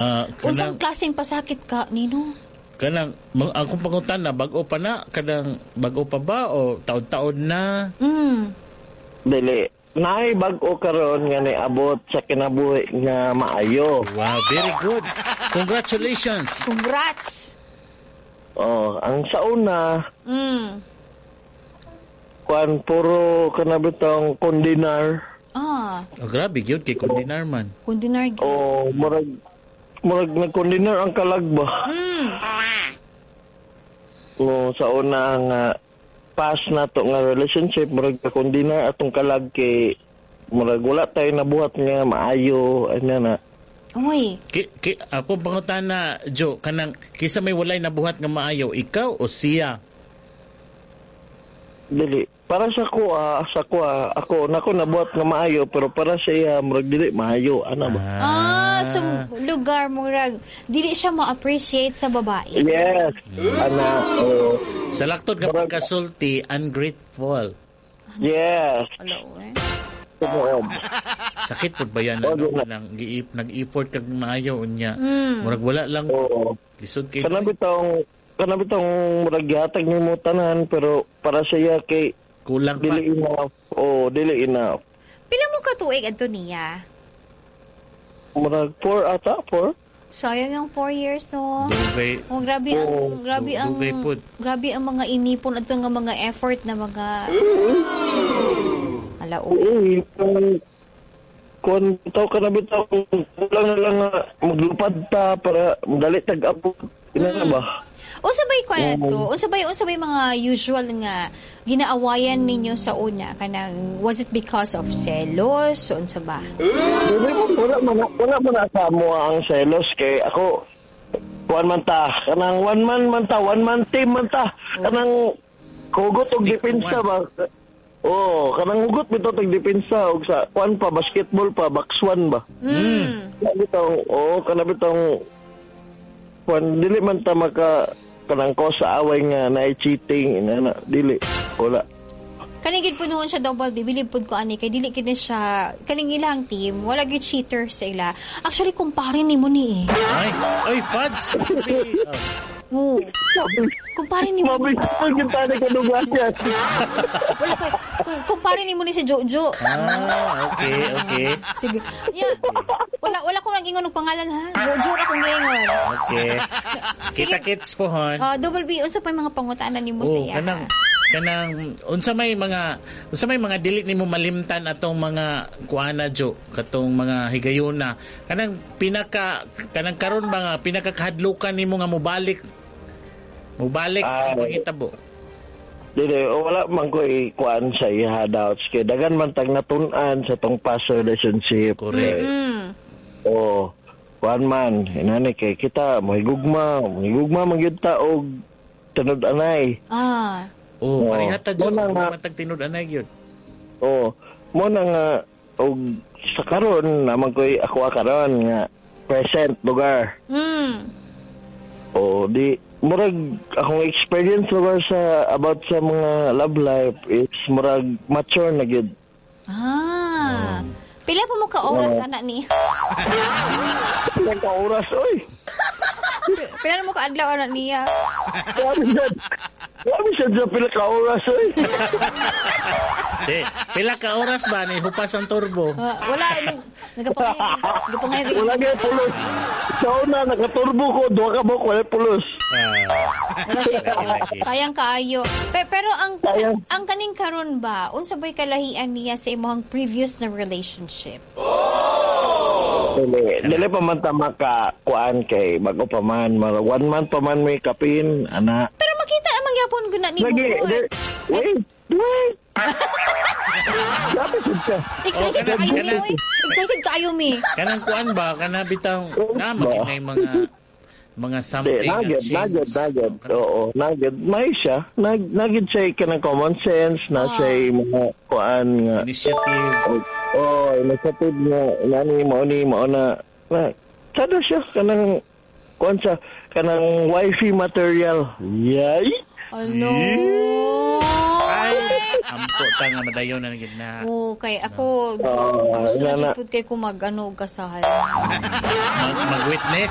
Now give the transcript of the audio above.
Ah, Unsang kanang klaseng pasakit ka nino? Kanang akong pangutana, bag-o pa na, kanang bag-o pa ba o taon-taon na? Dili. Naay bag-o karon nga niabot sa kinabuhi nga maayo. Wow, very good. Congratulations. Congrats. Oh, ang sa una, kuan, puro kana bitong kondinar. Oh, grabe gyud kay kondinar man. Kondinar gyud. Oh, murag nagkondinar ang kalag ba. No, sa una nga past na to nga relationship, murag kondinar atong kalag kay murag wala tayo nabuhat nga maayo ana na. Uy. Ki, ako pangutana, Jo, kanang kisa may walay nabuhat nga maayo, ikaw o siya? Dili. Para sa kuha, ako nako nabuhat nga maayo, pero para sa iya murag dili maayo ana ba. Ah, so lugar murag dili siya ma-appreciate sa babae. Yes. Ana, oh. Sa laktod nga pagkasulti, ungrateful. Yes. Alo, eh. Tumuod. Sakit pud ba yan, ano, kanang giip nag-effort kag maayo unya. Murag wala lang. Oo. Lisod kay. Kana bitong murag gihatag nimo tanan, pero para sa iya kay kulang pa. Dili enough. Oh, dili enough. Pila mo ka tuig adto niya? Murag 4 ata, 4. Sayang ang 4 years, no. Dugay. Oh, grabe ang Oo. grabe ang Dugay pud. grabe ang mga inipon adto nga mga effort na mga ala. Oo, kung tao ka na bitaw, kulang na lang nga maglupad ta para dali tag-abot. Ina na ba? Unsa bay kuan to? Unsa bay mga usual nga ginaawayan ninyo sa una? Kanang was it because of selos? Unsa ba? Dili mo, wala man na sa mo ang selos kay ako kuan man ta, kanang one man man ta, one man team man ta, kanang hugot og Stick to depensa one. ba. Oh, kanang hugot bitaw tag depensa og sa kuan pa, basketball pa, box one ba. Kana bitong, oh, kana bitong kuan, dili man ta maka kanang ko sa away nga naay cheating ina na, dili, wala. Kaning gid po noon siya, Double B, bilib pud ko ani kay dili kini siya kaning ilang team, wala gyud cheater sa ila. Actually, kumpare nimo ni eh. Ay, ay, Fads. Oh. Oo. Kumpare nimo. Mabig gyud tani kadugayan. Wala pa. Kumpare nimo ni si Jojo. Ah, okay. Sige. Yeah. Wala ko nag-ingon og pangalan ha. Jojo ra kong giingon. Okay. Kita kits po hon. Ah, Double B, unsa pa yung mga pangutana nimo sa Oh, iya? Kanang unsa may mga dili nimo malimtan atong mga kuana, Jo, katong mga higayuna, kanang pinaka kanang karon ba nga pinakakahadlukan nimo nga mubalik ang Ay. panghitabo? Dili, o wala man ko ikuan sa iya doubts kay dagan man tag natun-an sa tong past relationship. Correct. Oh, kuan man, inani kay kita mohigugma man gyud ta og tinud-anay. Oh, Oo. pareha ta, Jo, Mo na nga. matag tinud-anay gyud. Oh, mo na nga og sa karon naman koy ako karon nga present lugar. Oh, di murag akong experience lugar sa about sa mga love life is murag mature na gyud. Ah. Pila pa mo ka oras ana ni? Pila ka oras oy. Pila na mo ka adlaw ana niya? Grabe siya. Grabe siya sa pila ka oras oy. Di, pila ka oras ba ni hupas ang turbo? Ah, wala nagapangayog. Wala gyud pulos. Sa una nakaturbo ko, duha ka buok wala pulos. Ah, Wala siya. lagi, lagi. Sayang kaayo. Pero ang Sayang. ang kaning karon ba, unsa bay kalahian niya sa imong previous na relationship? Dili, dili pa man ta maka kuan kay bago pa man, mara one month pa man may kapin ana. Pero makita naman gyapon guna nimo. Lagi, Gud. wait, wait. Grabe jud ka. Excited Oh, kanang- kaayo mi, kanang- oy. Excited kaayo mi. Kanang kuan ba, kana bitaw na maginay mga Di, something nga nagad, change. nagad, nagad. Oo, nagad. May siya. Nagad siya kanang common sense, na siya mga kuan nga. Initiative. Oh, initiative nga, nani, mao ni, mao na. Na, sada siya, kanang, kuan siya, kanang wifey material. Yay! Ano? Ay, amping. Dako ta nga madayon na gid na. Oo, kay ako Ah, gusto na na. jud pud kay ko mag ano og kasal. Mag-witness.